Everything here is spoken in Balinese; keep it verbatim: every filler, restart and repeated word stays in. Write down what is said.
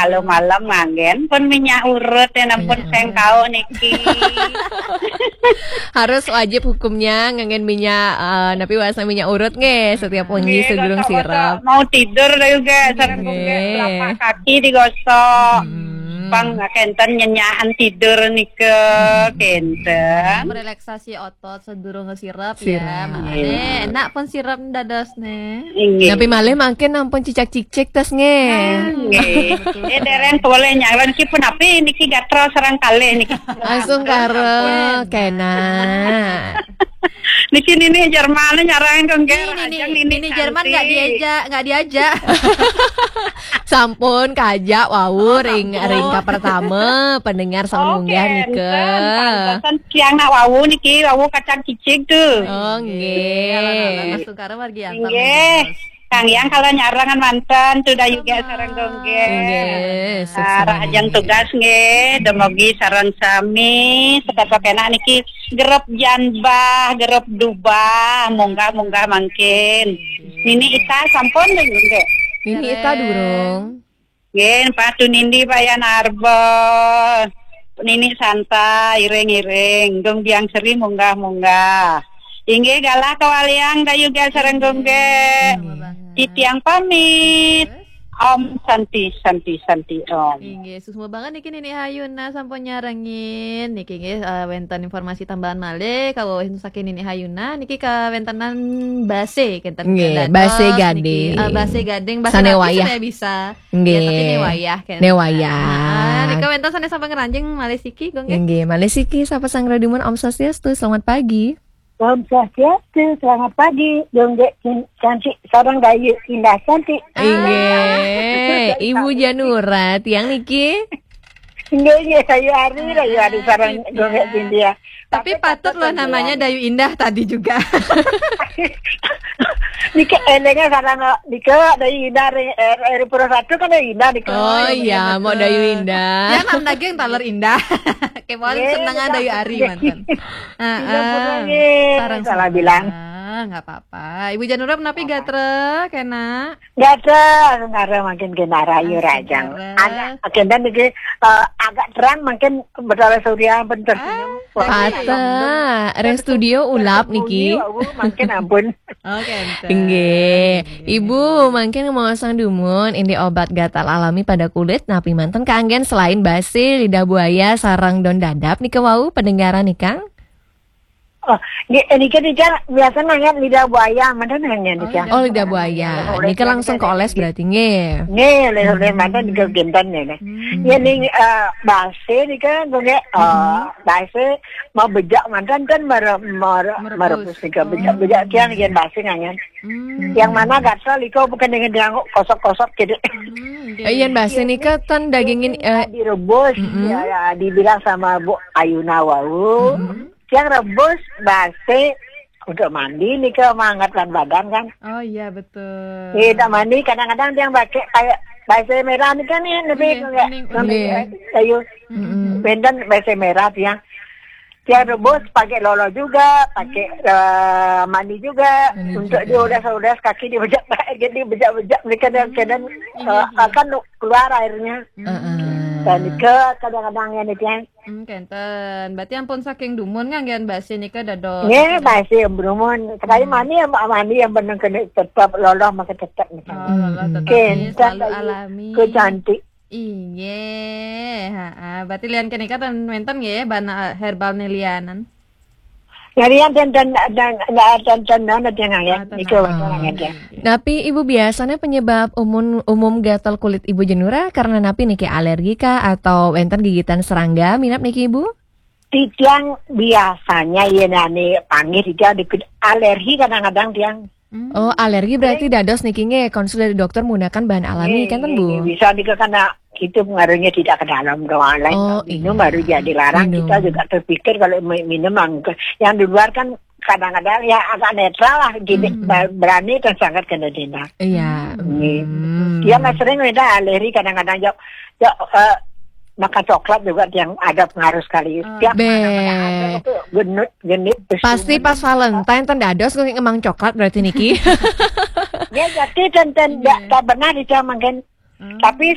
Kalau malam nganggen pun minyak urut ya, ampun, sengkau niki. Harus wajib hukumnya nganggen minyak, eh, napi bahasa minyak urut nggih setiap wengi sedurung sirep. Mau tidur dah juga, sareng nggih. Telapak kaki digosok. Pang kenten nyenyahan tidur nika, kenten. Merelaksasi otot sedurung sirep ya. Makanya enak pun sirep dados nih. Inggih. Tapi malih mangkin ampun cicak-cicik tas nggih. Nggih. Eh, dereng boleh nyalon ki pun api niki gatra sareng kalih niki. Langsung karo kena. Niki nini Jerman nyarang dong, nggih. Nini, nini Jerman nggak diajak, nggak diajak. Sampun kajak wau ring ring ka pertama pendengar sampun munggah nika. Pantesan tiang nak wau niki, wau kacang cicik tuh. Oh, nggih. Langsung karo margi antam. Nggih. Kang Yang kalau nyarangan mantan tuh dah juga sareng dong, nggih. Nggih. Ajang tugas nggih, demogi sareng sami, sekat kena niki gerep janbah, gerep dubah, munggah-munggah mangkin. Nini Ita sampun deh, nggih. Nini Ita durung. Nggih, patu nindi Bayan Arba. Nini santai, iring-iring. Dong biang seri munggah-munggah. Inggih galah kawaliang dayu gal sareng dong, nggih. Titiang pamit. Om Santi, Santi, Santi, Om. Inggih, susma banget niki Nini Hayuna sampun nyarengin. Niki nggih, eh, wenten informasi tambahan malih kawuh saking Nini Hayuna. Niki kawentenan base kenten. Nggih, base gading. Eh, base gading, base sane wayah. Saya bisa. Nggih. Ya, tapi ne wayah kan. Ne wayah. Nah, nika wenten sane sampun ngranjing malih siki, Gung, nggih. Nggih, malih siki sapa sang radumun, Om Swastiastu, selamat pagi. Om Swastiastu, selamat pagi. Dongge cantik, sareng Dayu Indah cantik. Inggih, Ibu Janura, tiang niki. Inggih, inggih, Dayu Ari, Dayu Ari sareng Dongge Cynthia. Tapi patut loh namanya Dayu Indah tadi juga. Niki elengnya sareng niki Dayu Indah ring R R Pura satu kan Dayu Indah niki. Oh iya, mau Dayu Indah. Ya, nam daging taler indah. Kemawon seneng Dayu Ari manten. Heeh. Sareng salah bilang. Nggak apa-apa. Ibu Janura menapi gatra kena? Gatra, sementara makin kena rayu rajang. Agak kenten niki, eh, agak terang makin betara surya pun tersenyum. Pata, ring studio ulap niki. Makin ampun. Oke, nggih. Ibu, mangkin mau sang dumun, ini obat gatal alami pada kulit, napi manten kaanggen selain base, lidah buaya, sareng don dadap nika wau pendengaran nika? Oh, nggih, niki nika biasa nanya lidah buaya, manten nanya nika. Oh, lidah buaya. Nika langsung ke oles berarti nggih. Nggih, oleh-oleh manten nika genten ya. Ya ning, eh, base nika nggih, eh, base mau bejak manten kan mere-, mere-, merebus nika bejak-bejak tiang yen base ngangen. Yang mana gatal iko bukan dengan yang kosok-kosok gitu. Eh, yen base nika ten dagingin, eh, direbus, ya, ya, dibilang sama Bu Ayuna wau. Yang rebus base untuk mandi nika menghangatkan badan kan. Oh iya, betul. Iya, tak mandi kadang-kadang yang pakai kayak base merah nih kan nih, lebih kayak kayu. Benten base merah tiang. Tiang rebus pakai lolo juga, pakai, eh, mandi juga. Untuk diudas-udas kaki dibejak, jadi bejak-bejak nika dan, eh, akan keluar airnya. Dan ke kadang-kadang yang tiang Hmm, kenten. Berarti ampun saking dumun nganggen base nika dados. Nggih, base dumun. Sekali mandi yang mandi yang beneng kena tetap loloh maka tetap nika. Oh, loloh tetap selalu alami. Ku cantik. Inggih, heeh. Berarti lian kenika ten wenten nggih bana herbal ne lianan. Jadi yang dan dan dan dan dan dan dan yang ya. Nika wenten nganggen. Napi Ibu biasanya penyebab umum, umum gatal kulit Ibu Janura karena napi niki, alergi kah atau wenten gigitan serangga minap niki Ibu? Titiang biasanya ya nani panggil titiang dikit alergi kadang-kadang tiang. Oh, alergi berarti dados niki nggih konsul dari dokter menggunakan bahan alami kan Bu? Bisa nika karena itu pengaruhnya tidak ke dalam doang lain. Oh, minum baru jadi larang. Kita juga terpikir kalau mi-, minum yang di luar kan kadang-kadang ya agak netral lah, gini, berani dan sangat kena dina. Iya. Dia nggak sering beda alergi kadang-kadang, ya, ya, eh, makan coklat juga yang ada pengaruh sekali. Tiap mana-mana ada tuh genit, genit. Pasti pas Valentine ten dados ngemang coklat berarti niki. Ya, jadi dan, dan tak, tak benar itu mungkin. Tapi